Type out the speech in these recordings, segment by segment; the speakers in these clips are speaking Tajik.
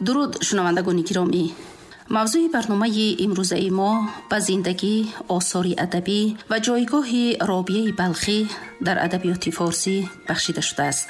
Дуруд, шунавандагони гиромӣ. Мавзӯи барномаи имрӯзаи мо ба зиндагӣ, осори адабӣ ва ҷойгоҳи Робияи Балхӣ дар адабиёти форсӣ бахшида шудааст.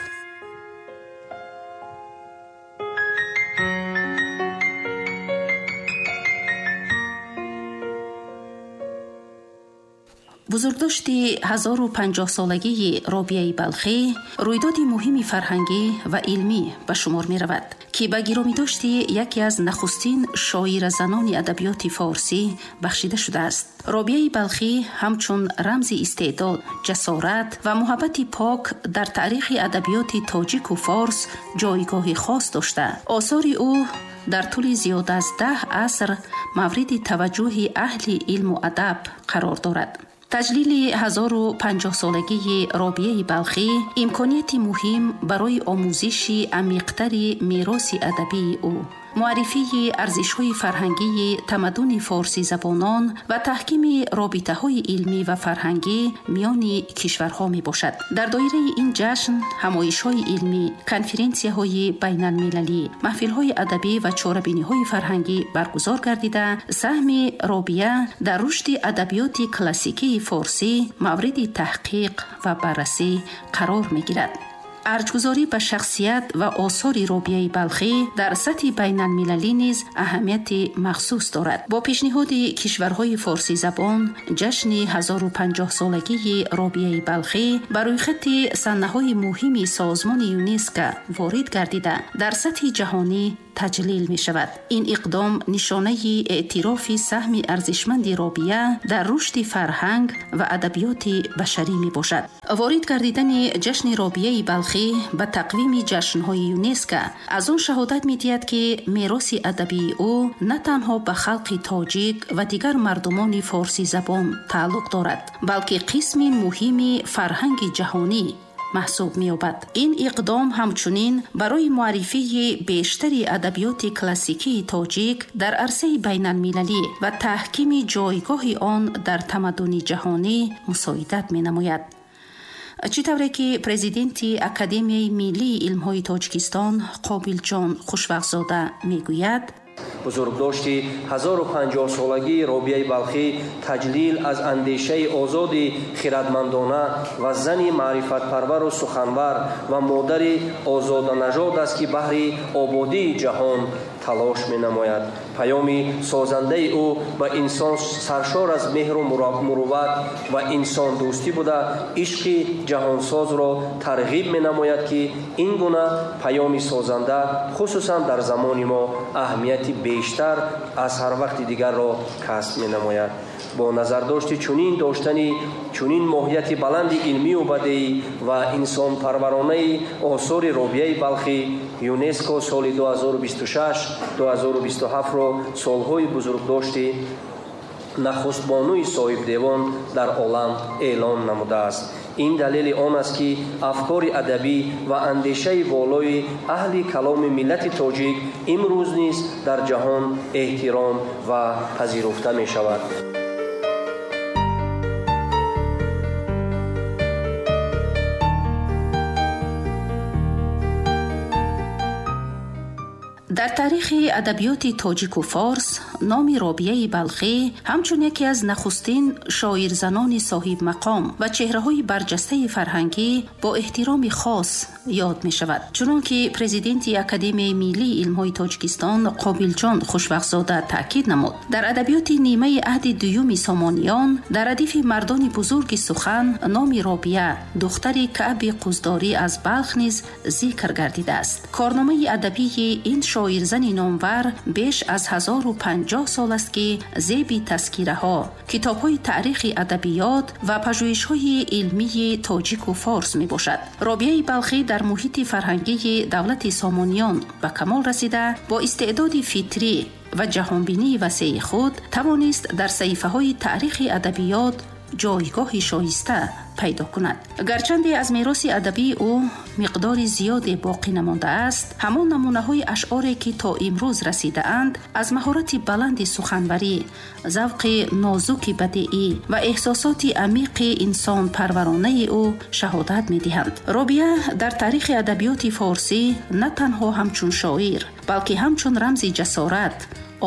Бузургдошти 1050-солагии Робияи Балхӣ рӯйдоди муҳими фарҳангӣ ва илмӣ ба шумор меравад, ки ба гиромидошти яке аз нахустин шоиразанони адабиёти форсӣ бахшида шудааст. Робияи Балхӣ ҳамчун рамзи истеъдод, ҷасорат ва муҳаббати пок дар таърихи адабиёти тоҷику форс ҷойгоҳи хос дошта, осори ӯ дар тӯли зиёда аз 10 аср мавриди таваҷҷӯҳи аҳли илму адаб қарор дорад. Таҷлили 1050-солагии Робияи Балхӣ имконияти муҳим барои омӯзиши амиқтари мероси адабии ӯ, муаррифии арзишҳои фарҳангии тамаддуни форсизабонон ва таҳкими робитаҳои илмӣ ва фарҳангӣ миёни кишварҳо мебошад. Дар доираи ин ҷашн ҳамоишҳои илмӣ, конференсияҳои байналмилалӣ, маҳфилҳои адабӣ ва чорабиниҳои фарҳангӣ баргузор гардида, саҳми Робия дар рушди адабиёти классикии форсӣ мавриди таҳқиқ ва баррасӣ қарор мегирад. Арҷгузорӣ ба шахсият ва осори Робияи Балхӣ дар сатҳи байналмилалӣ низ аҳамияти махсус дорад. Бо пешниҳоди кишварҳои форсизабон ҷашни 1050-солагии Робияи Балхӣ ба рӯйхати саннаҳои муҳими созмони ЮНЕСКО ворид гардида, дар сатҳи ҷаҳонӣ таҷлил мешавад. Ин иқдом нишонаи эътирофи саҳми арзишманди Робия дар рушди фарҳанг ва адабиёти башарӣ мебошад. Ворид гардидани ҷашни Робияи Балхӣ ба тақвими ҷашнҳои ЮНЕСКО аз он шаҳодат медиҳад, ки мероси адабии ӯ на танҳо ба халқи тоҷик ва дигар мардумони форсизабон тааллуқ дорад, балки қисми муҳими фарҳанги ҷаҳонӣ маҳсуб меёбад. Ин иқдом ҳамчунин барои муаррифии бештари адабиёти классикии тоҷик дар арсаи байналмилалӣ ва таҳкими ҷойгоҳи он дар тамаддуни ҷаҳонӣ мусоидат менамояд. Чӣ тавре ки президенти Академияи миллии илмҳои Тоҷикистон Қобилҷон Хушвақтзода мегӯяд: бузургдошти 1050-солагии Робияи Балхӣ таҷлил аз андешаи озоди хирадмандона ва зани маърифатпарвару суханвар ва модари озоданажод аст, ки баҳри ободии ҷаҳон талош менамояд. Паёми созандаи ӯ ба инсон саршор аз меҳру мурувват ва инсондӯстӣ буда, ишқи ҷаҳонсозро тарғиб менамояд, ки ин гуна паёми созанда хусусан дар замони мо аҳамияти бештар аз ҳар вақти дигарро касб менамояд. Бо назардошти чунин доштани чунин моҳияти баланди илмию бадеӣ ва инсонпарваронаи осори Робияи Балхӣ, ЮНЕСКО соли 2026-2027-ро солҳои бузургдошти нахустбонуи соҳибдевон дар олам эълон намудааст. Ин далели он аст, ки афкори адабӣ ва андешаи волои аҳли каломи миллати тоҷик имрӯз низ дар ҷаҳон эҳтиром ва пазируфта мешавад. Дар таърихи адабиёти тоҷику форс номи Робияи Балхӣ ҳамчун яке аз нахустин шоирзанони соҳибмақом ва чеҳраҳои барҷастаи фарҳангӣ бо эҳтироми хос ёд мешавад. Чунон ки президенти Академияи миллии илмҳои Тоҷикистон Қобилҷон Хушвақтзода таъкид намуд, дар адабиёти нимаи аҳди дуюми Сомониён дар радифи мардони бузурги сухан номи Робия, духтари Каъби Қуздорӣ аз Балх низ зикр гардидааст. Корномаи адабии ин шоирзани номвар беш аз 1050 сол аст, ки зеби тазкираҳо, китобҳои таърихи адабиёт ва пажӯҳишҳои илмии тоҷику форс мебошад. Робияи Балхӣ дар муҳити фарҳангии давлати Сомониён ба камол расида, бо истеъдоди фитрӣ ва ҷаҳонбинии васеи худ тавонист дар саҳифаҳои таърихи адабиёт ҷойгоҳи шоиста пайдо кунад. Гарчанде аз мероси адабии ӯ миқдори зиёде боқӣ намондааст, ҳамон намунаҳои ашъоре, ки то имрӯз расидаанд, аз маҳорати баланди суханварӣ, завқи нозуки бадеӣ ва эҳсосоти амиқи инсонпарваронаи ӯ шаҳодат медиҳанд. Робия дар таърихи адабиёти форсӣ на танҳо ҳамчун шоир, балки ҳамчун рамзи ҷасорат,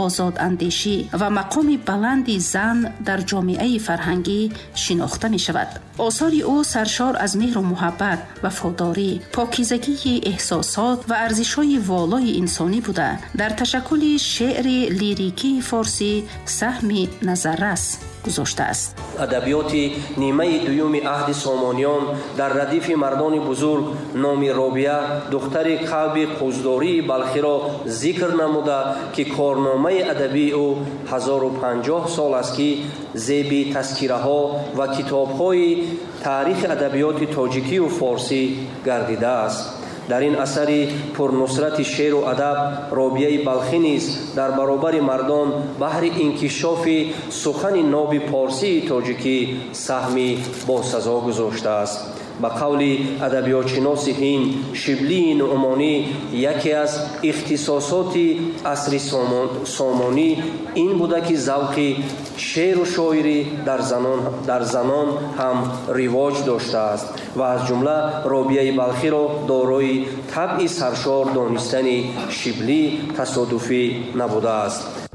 озодандешӣ ва мақоми баланди зан дар ҷомеаи фарҳангӣ шинохта мешавад. Осори ӯ саршор аз меҳру муҳаббат, вафодорӣ, покизагии эҳсосот ва арзишҳои волои инсонӣ буда, дар ташаккули шеъри лирикии форсӣ саҳми назаррас гузоштааст. Адабиёти нимаи дуюми аҳди Сомониён дар радифи мардони бузург номи Робия, духтари Каъби Қуздории Балхиро зикр намуда, ки корномаи адабии ӯ 1050 сол аст, ки зеби тазкираҳо ва китобҳои таърихи адабиёти тоҷикию форсӣ гардидааст. Дар ин асари пурнусрати шеъру адаб Робияи Балхӣ низ дар баробари мардон баҳри инкишофи сухани ноби порсии тоҷикӣ саҳми босазо гузоштааст. Ба қавли адабиётшиноси ҳинд Шиблии Нуъмонӣ, яке аз ихтисосоти асри Сомонӣ ин буда, ки завқи шеъру шоирӣ дар занон ҳам ривоҷ доштааст ва аз ҷумла Робияи Балхиро дорои табъи саршор донистани Шиблӣ тасодуфӣ набудааст.